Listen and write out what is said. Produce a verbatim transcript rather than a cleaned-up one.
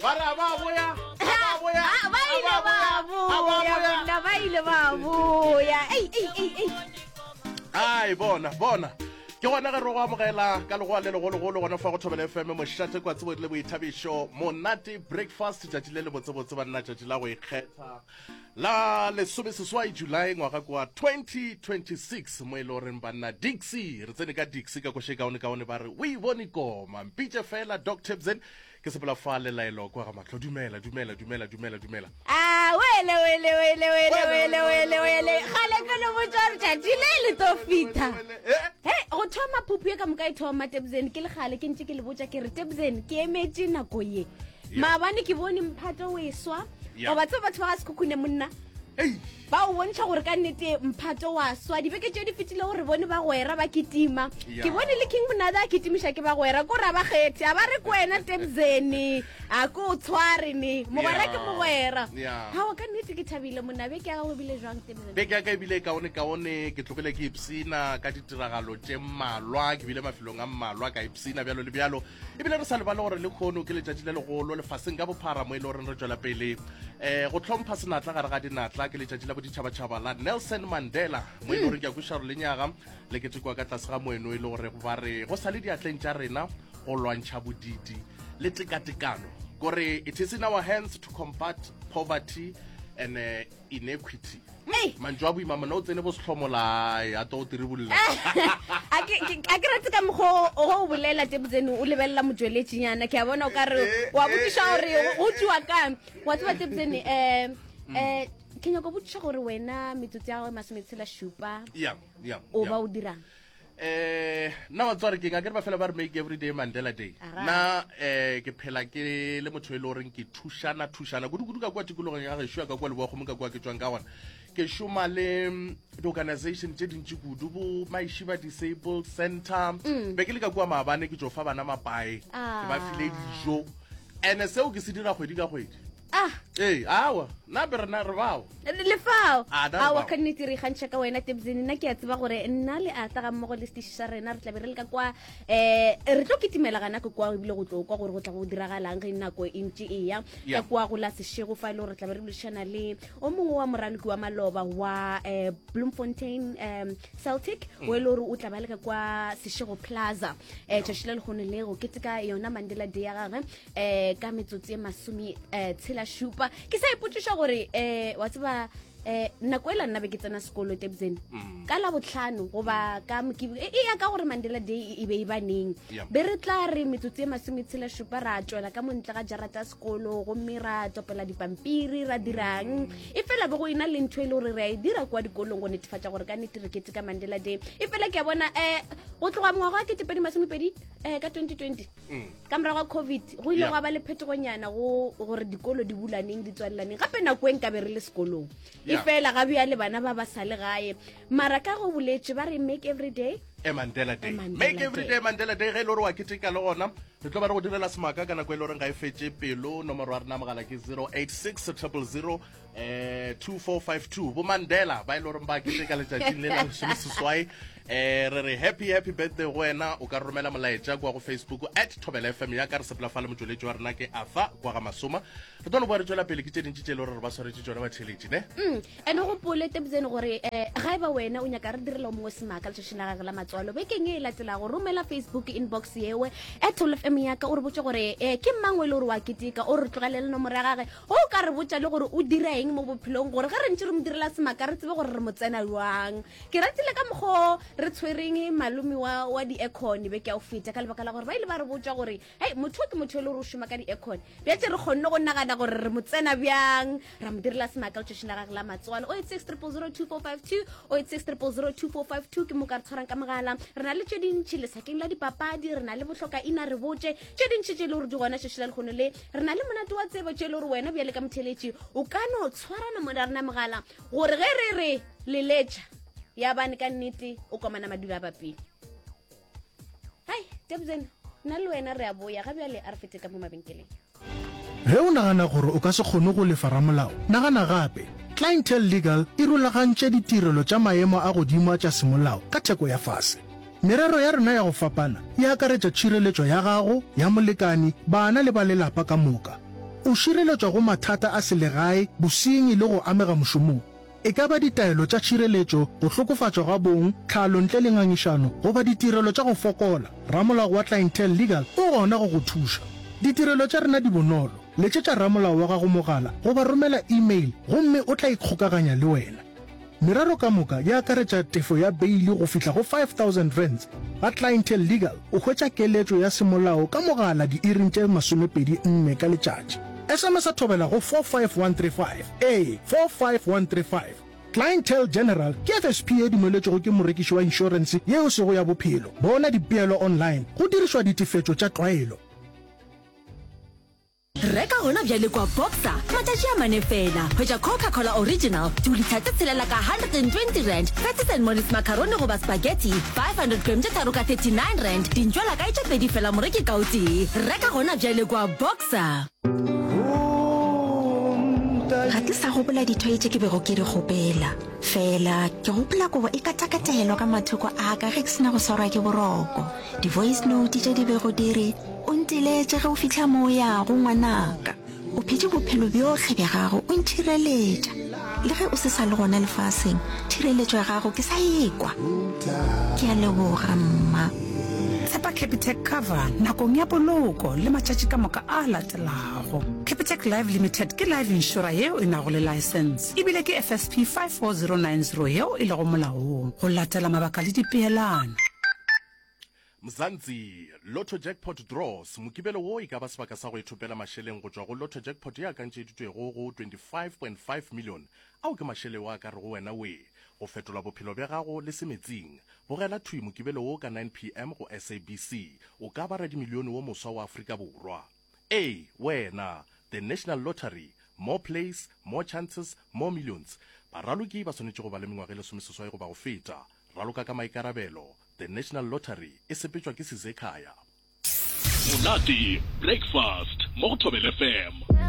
Ba re a ba boya, a ba boya, Ah, ba a ile ba ba boya, a ba boya boya. monna ba ile ba boya ei ei ei ei Ai, bona, bona. Ke gona ge re go amogela ka legoa le legologolo gona fa go Thobela F M, mošate kwa tsebo le boithabišo, monate breakfast. Tšatši le le botsebotse banna, tšatši la go ikgetha la lesomeseswai July ngwaga kwa twenty twenty-six, mo e le goreng banna Dixie re tsene ka Dixie ka koše kaone kaone, ba re o e bone koma mpitše fela Doc Tebsen. Ke sepela fa lelaelo kwa ga mahlo. Dumela, dumela, dumela, dumela, dumela. A wele wele wele wele wele wele wele, gale ke le botsa gore tšatši le le tlo fitha. Eh, he go thoma phuphu ye ka moka e thoma Tebsen, ke legale ke ntse ke le botsa ke re Tebsen ke emetse nako ye. Yeah. Maabane ke bone mphato o e swa. Yeah. Goba tseba batho ba ga Sekhukhune monna Ei. ba o bontšha gore ka nnete mphato wa swa. Dibeke tše di fetile gore bone bagwera ba kitima. Yeah. Ke bone le King Monada a kitimiša ke bagwera, ko ra ba kgethe a ba re ko wena Tebsene a ko o tshware ne mogwera ke Yeah. mogwera. Yeah. Gao, ka nnete ke thabile monna. Beke ya gago ebile jwang, Tebsene? Beke ya ka ebile kaone kaone. Ke tlogile ke ipsina ka ditiragalo tše mmalwa, ke bile mafelong a mmalwa ka ipsina bjalo le bjalo. Ebile re sa lebale gore le kgono ke letšatši le legolo lefaseng ka bophara mo e le goreng re tšwela pele um go tlhompha senatla gare ga dinatla, ke letšatši la boditšhabatšhaba la Nelson Mandela, mo e le goreng ke a kweša gore lenyaga le ketekwa ka tlase ga moeno e le gore ba re go sa le diatleng tša rena go lwantšha bodidi le tekatekano, kore it is in our hands to combat poverty and uh, inequity. Ei. Mantšu a boima mona, o tsene bo setlhomolae a to o tiribolla. A ke ke- a ke rate ka mokgwa o go o bolela Tebsene, o lebelela motsweletšinyana, ke a bona o ka re wa botšiša gore go tšiwa kang. Wa tseba Tebsene, um um ke nyako botšiša gore wena metsotso ya gago e masometshela šupa ya ya o ba o dirang? eh nna wa tsware keng, a ke re ba fela ba re make every day Mandela Day. Ara. Nna eh ke phela ke le motho e le goreng ke thušana thušana kudu-kudu ka kua tikologong ya gešo ya ka kua Leboakgomo, ka kua ke tswang ka gona. Ke šoma le mm, di-organization tše dintši kudu, bo Maishiba Disabled Center. Be ke le ka kua maabane, ke tšo fa bana mapae, ke ba file dijo, and seo ke se dira kgwedi ka kgwedi. Ah. Ee, awa nna be rena re bao. Le fao. Ah, na re Awa, bao. ka nnete re ikgantšha ka wena Tebsene. Nna ke a tseba gore nna le ata ga mmogo le setiši sa rena re tlabe re le ka kwa, um re tlo kitimela gana ke kwa, ebile go tlo kwa gore go tla go diragalang ge nako e ntše e ya. Yeah. Ka kwa go la Sešego fa e le gore tlabe re boledišana le o mongwe wa moraloki wa maloba wa um Bloemfontein um Celtic, o e le gore o tla ba le ka kwa Sešego Plaza um tšatši le lekgono le go keteka yona Mandela Day ya gagwe um ka metsotso e masome um tshela šupa. Ke sa ipotšiša gore um wa tseba um nako e la nna be ke tsena sekolo Tebsene, ka la botlhano goba ka Mokibi- e e ya ka gore Mandela Day e be e ba neng, Yeah. be re tla re metsotso e masometshela šupa ra tswela ka montle ga jarata ya sekolo gomme ra topela dipampiri ra dirang. E fela be go ena le ntho e le gore re a e dira kwa dikolong go netefatša gore ka nnete re keteka Mandela Day. E fela ke a bona um go tloga mongwaga wa ketepedi masomepedi um ka twenty twenty, ka morago ga COVID, go ile Yeah. gwa ba le phetogonyana go gore dikolo di bulaneng di tswalelaneng gape. Nako e nkabe re le sekolong e Yeah. fela ga bjale bana ba ba sa le gae, mara ka go boletse ba re make every day e Mandela Day. A Mandela Make every Day. day Mandela Day. Ge e le gore wa keteka le gona, re tlo ba re go direla semaka ka nako e le goreng ga e fetse pelo. Nomoro ya rena mogala ke zero eight six triple zero eh two four five two. Bo Mandela ba e le goreng ba keteka letšatšing le la lesomeseswai, eh re re happy happy birthday go wena. O ka romela molaetša kwa go Facebook at Thobela F M ya ka. Re sepela fa le motsweletši wa rena ke Afa kwa ga Masoma. Re tlo no boa re tšwela pele ke tše dintši tše e le gore re ba swaretše tšona batheletši ne. Mm, and o gopole Tebsene gore um ga e ba wena o nyaka re direla o mongwe semaka letšatšing la gage la matswalo bekeng e e latelago, romela Facebook inbox yewe at Thobela F M ya ka, o re botse gore um ke mang o e le gore wa keteka, o re tlogelele nomoro ya gage, o ka re botša le gore o dira eng mo bophelong, gore ge re ntse re mo direla semaka re tsebe gore re mo tsena jwang. Ke ratile ka mokgwa re tshwereng malome wa, wa di-aircon beke ya go feta, ka lebaka la gore ba ile ba re botša gore hei, motho o ke motho e le gore o šoma ka di-aircon. Bjatse re kgonne go nagana gore re mo tsena bjang, ra mo direla semaka letšatšing la gage la matswalo. o eight six triple zero two four five two, o eight six triple zero two four five two ke mo ka re tshwarang ka mogala. Re na le tše dintšhi lesakeng la dipapadi, re na le bohloka ina re botše tše dintšhi tše e le gore di gona šeši la lekgono le. Re na le monate wa tsebo tše e le gore wena bjale ka motheletši o ka no tshwarana mo ra rena mogala, gore ge re re leletša ya bane ka nnete o komana madula a bapile. Hai Tebsen, nna le wena re a boya ga bjale, a re fete ka mo mabenkeleng. Ge o nagana gore o ka se kgone go lefa ramolao, nagana gape. Clientele Legal e rulagantše ditirelo tša maemo a godimo a tša semolao ka theko ya fase. Merero ya rena ya go fapana e akaretša tšhireletšo ya gago, ya molekani, bana le ba lelapa ka moka. O šireletšwa go mathata a selegae, bosenyi le go amega mošomong. E ka ba ditaelo tša tšhireletšo, go hlokofatšwa ga bong, tlhalo ntle le ngangišano, goba ditirelo tša go fokola, ramolao wa Clientele Legal o gona go go thuša. Ditirelo tša rena di bonolo, letšetša ramolao wa gago mogala goba romela email gomme o tla ikgokaganya le wena. Merero ka moka e akaretša tefo ya beili go fihla go five thousand rands. Ga Clientele Legal o hwetša keletšo ya semolao ka mogala diiring tše masomepedi nne ka letšatši. S M S a thobela go four five one three five, ee, four five one three five. Clientele General ke F S P ye dumeletšwego ke morekiši wa inšorense ye e sego ya bophelo. Bona dipeelo online go dirišwa ditefetšo tša tlwaelo. Reka gona bjale kwa Boxer, matšatši a mane fela. Hwetša Coca-Cola Original, dilitha tše tshelela ka one hundred and twenty rand, Patties and Mollies macaroni goba spaghetti, five hundred gram tše tharo ka thirty-nine rand, dintšwela kae tše pedi fela moreki ka o tee. Reka gona bjale kwa Boxer. Ga ke sa gopola dithoye tše ke bego ke di kgopela. Fela ke gopola kobo e katakatelwa ka mathoko a ka ge ke sena go swarwa ke boroko. Di-voice note tše di bego di re, o nteletše ge o fihla mo o yago ngwanaka. O phetše bophelo bjohle bja gago o ntšhireletša. Le ge o se sa le gona lefaseng, tšhireletšo ya gago ke sa ekwa. Ke a leboga mma. Tshepa Capitec Cover nakong ya poloko le matšatši ka moka a latelago. Capitec Life Limited ke life insurer yeo e nago le license ebile ke F S P five four zero nine zero yeo e lego molaong go latela mabaka le dipeelano. Mzansi, Lotto Jackpot Draws, Mokibelo wo e ka ba sebaka sa go ithopela mašeleng go tšwa go Lotto Jackpot ye akantšeditšwego go twenty-five point five million. Ao ke mašeleng a ka rego wena we go fetola bophelo bja gago le semetsing. Bogela thwi Mokibelo wo ka nine P M go S A B C. O ka ba radimilione wo moswa wa Afrika Borwa. Ee, wena, The National Lottery, more plays, more chances, more millions. Baraloki ba swanetše go ba le mengwaga e lesomeseswai goba go feta. Raloka ka maikarabelo. The National Lottery e sepetšwa ke Sizekhaya. Monate Breakfast mo go Thobela F M.